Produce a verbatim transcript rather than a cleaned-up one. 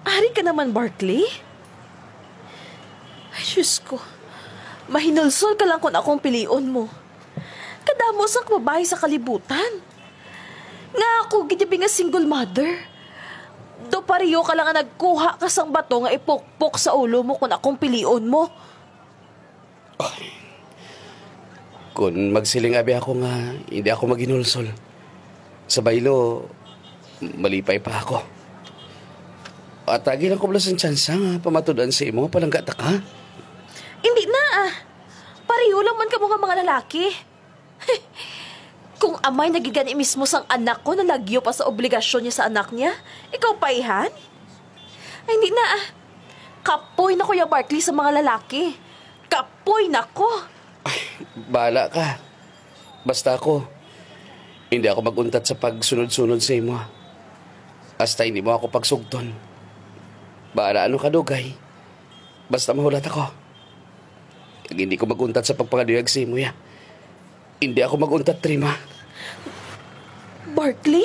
Ari ka naman, Barkley? Ay, Diyos ko. Mahinulsol ka lang kung akong pilion mo. Kadamo sang babayi sa kalibutan. Nga ako gid nga single mother. Do pareho ka lang nga nagkuha ka sang bato nga ipukpok sa ulo mo kung akong pilion mo. Ay. Kung magsiling abi ako nga hindi ako maghinulsol, sa baylo, malipay pa ako. Atagi lang ko bala sang tsansa nga pamatud-an sa imo nga palangga ta ka. Hindi na, ah. Pareho lang man kamo nga mga lalaki. Kung amay na gid gani mismo sang anak ko nalagyo pa sa obligasyon niya sa anak niya, ikaw pa, ihan? Ay, hindi na, ah. Kapoy na ko ya, Barkley, sa mga lalaki. Kapoy na ko. Bahala ka. Basta ako, hindi ako mag-untat sa pagsunod-sunod sa imo, ah. Hasta hindi mo ako pagsugton. Bahala ano kadugay. Basta mahulat ako. Kag hindi ko mag-untat sa pagpangaduyag sa imo, ya. Hindi ako mag-untat, Trima. Barkley?